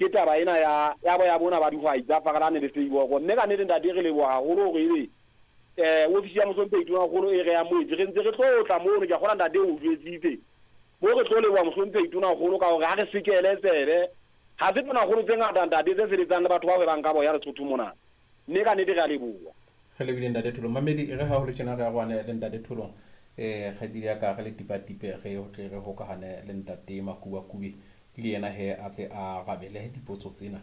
Ke taba ena ya ya boya bona ba dihwai tsa Fakalane le Seiboko. Mme ka nnete ntate re leboha haholo hore ebe ofisi ya Mohlomphehi Tonakgolo e re amohetse. Re ntse re tlo tla mono, ke a kgolwa ntate o jwetsitse. Mo re tlo leboha Mohlomphehi Tonakgolo ka hore ha re sekele tsebe. Ha se Tonakgolo tse ngata ntate tse sebetsang le batho ba hwebang ka boya Lesotho mona. Mme ka nnete re a leboha. Re lebile Ntate Tholong. Mamedi, e re ha ho le tjena re arohane le Ntate Tholong. Kgaitsedi ya ka re le tipatipe re tle re hokahane le Ntate Makubakube le yena he a tle a arabele dipotso tsena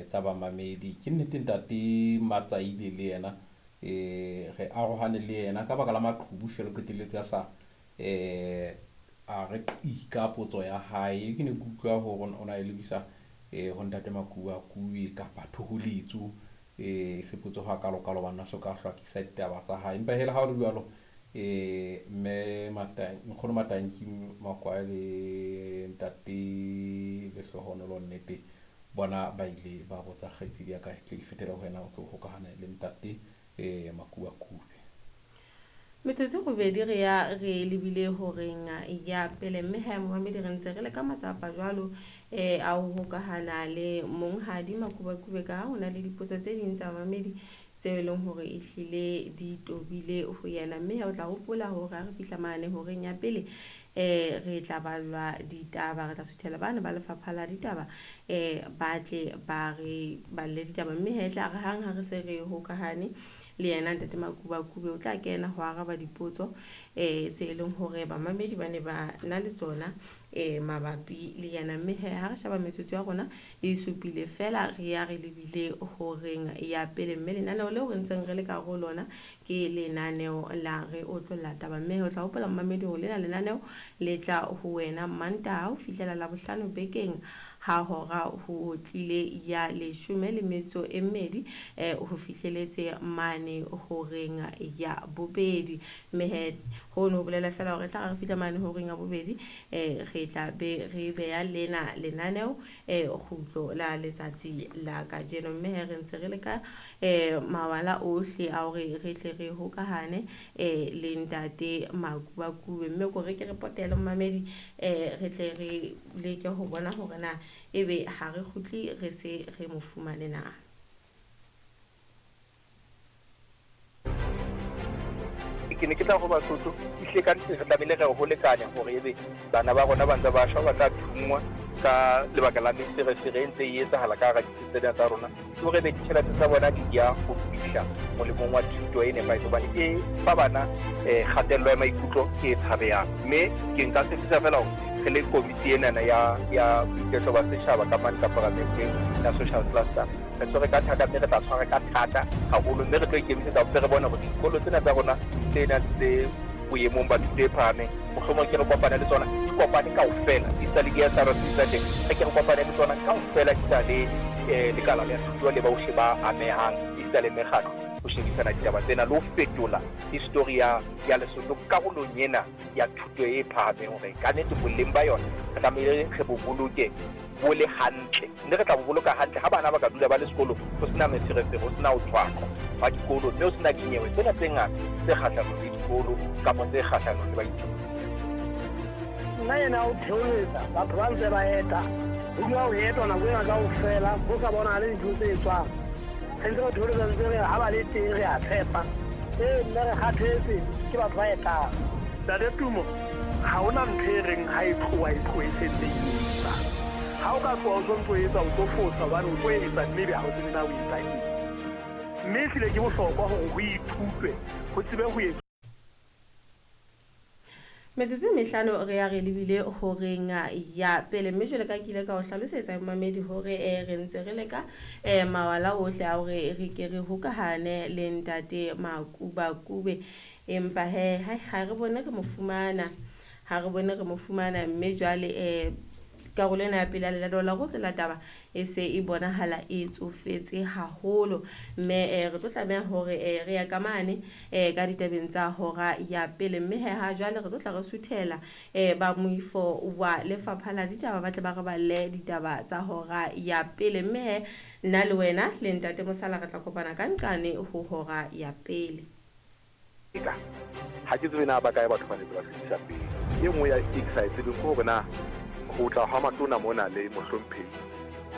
tsa bamamedi. Ke nnete Ntate Matsaile le yena re arohane le yena ka baka la maqhubu fela o qetelletse a sa a re qi ka potso ya hae. Ke ne ke utlwa hore o na e lebisa ho Ntate Makubakube kapa thoholetso se potso hakalokalo hobane a so ka hlwakisa ditaba tsa hae. Empa he le ha ho le jwalo mme Nkgono Matanki Makwae le Ntate Lehlohonolo nnete bona ba ile ba botsa kgaitsedi ya ka tle ke fetele ho wena o tlo hokahane le Ntate Makubakube. Metsotso robedi re ya re lebile horeng ya pele, mme ha momamedi re ntse re le ka matsapa jwalo a ho hokahana le monghadi Makubakube ka ha ho na le dipotso tse ding tsa mamedi tseo e leng hore ehlile di tobile ho yena. Mme o tla hopola hore ha re fihla mane horeng ya pele re tla ballwa ditaba, re tla suthela bana ba lefapha la ditaba ba tle ba re balle ditaba. Mme he tla re hang ha re se re hokahane le yena Ntate Makubakube o tla kena ho araba dipotso tse e leng hore bamamedi ba ne ba na le tsona mabapi le yena. Mme he ha re sheba metsotso ya rona e supile fela re ya re lebile horeng ya pele, mme lenaneo leo re ntseng re le ka ho lona ke lenaneo la re otlolla taba. Mme o tla hopola momamedi hore lena lenaneo le tla ho wena Mantaha ho fihlela Labohlano bekeng ha hora ho otlile ya 12 ho fihleletse mane horeng ya bobedi. Mme he ho no bolela fela hore tla re fihla mane horeng ya bobedi re tla be re beha lena lenaneo kgutlo la letsatsi la kajeno. Mme he re ntse re le ka mawala ohle a hore re tle re hokahane le Ntate Makubakube. Mme ko re ke re potele momamedi re tle re leke ho bona hore na ebe ha re kgutle re se re mo fumane na. Ke ne ke tla ho Basotho ehlile ka nnete re tlamehile re ho lekane hore ebe bana ba rona ba ntse ba shwa, ba tla thunngwa ka lebaka la meferefere e ntse e etsahala ka hara ditsi tsena tsa rona, ke hore ebe ditjhelete tsa bona di ya ho fihla molemong wa thuto e nepahetseng, hobane e fa bana kgatello ya maikutlo e tshabehang. Mme ke nka tshepisa fela hore re le komiti enana ya boiketlo ba setjhaba ka mane ka paramenteng ya social cluster, re tshwere ka thata mme re tla tshwara ka thata haholo, mme re tlo ikemisetsa hore re bone hore dikolo tsena tsa rona tse nang tse boemong ba thuto e phahameng, mohlomong ke re kopane le tsona, di kopane kaofela, di sa le di-S_R_C tsa teng, re ke re kopane le tsona kaofela, di sa le lekala la thuto le bohle ba amehang, di sa le mekgatlo, ho shebisana ditaba tsena le ho fetola history ya Lesotho karolong ena ya thuto e phahameng, hore ka nnete boleng ba yona re tlamehile re bo boloke bo le hantle, mme re tla bo boloka hantle ha bana ba ka dula ba le sekolong ho sena meferefere, ho sena ho thwathwa hwa dikolo, mme ho sena dinyewe tsena tse ngata tse kgahlanong le dikolo kapa tse kgahlanong le baithuti. Nna ena o theoletsa batho ba ntse ba eta, ho dula ho etwa nako ena kaofela, ho sa bonahale dintho tse etswang. Re ntse re theoletsa ntse re ha ba le teng re a tshepa. Mme re kgathetse ke batho ba etang. Ntate Tumo, ha hona ntho e reng ha e tloha e tlohe se ntse e etsa. Ha o ka tloha o sontso etsa o tlo fosa hobane o tlo etsa mme ebe ha o tsebe na o etsa eng. Mme ehlile ke bohlokwa hore ho ithutwe, ho tsebe ho etswa. Metsotso e mehlano re ya re lebile horeng ya pele, mme jwale ka ke ile ka o hlalosetsa momamedi hore re ntse re leka mawala ohle a hore re ke re hokahane le Ntate Makubakube, empa he ha re bone re mo fumana, ha re bone re mo fumana. Mme jwale karolo ena ya pele ya lenaneo la ho tlola taba e se e bonahala e tsofetse haholo, mme re tlo tlameha hore re ya ka mane ka ditabeng tsa hora ya pele. Mme he ha jwale re tlo tla re suthela ba moifo wa lefapha la ditaba ba tle ba re balle ditaba tsa hora ya pele. Mme he nna le wena le Ntate Mosala re tla kopana ka nqane ho hora ya pele. Ha ke tsebe na ba kae batho ba netse ba fetisa pele. E nngwe ya e ke sa e tsebeng ke hore na ho tla hwa matona mona le mohlomphehi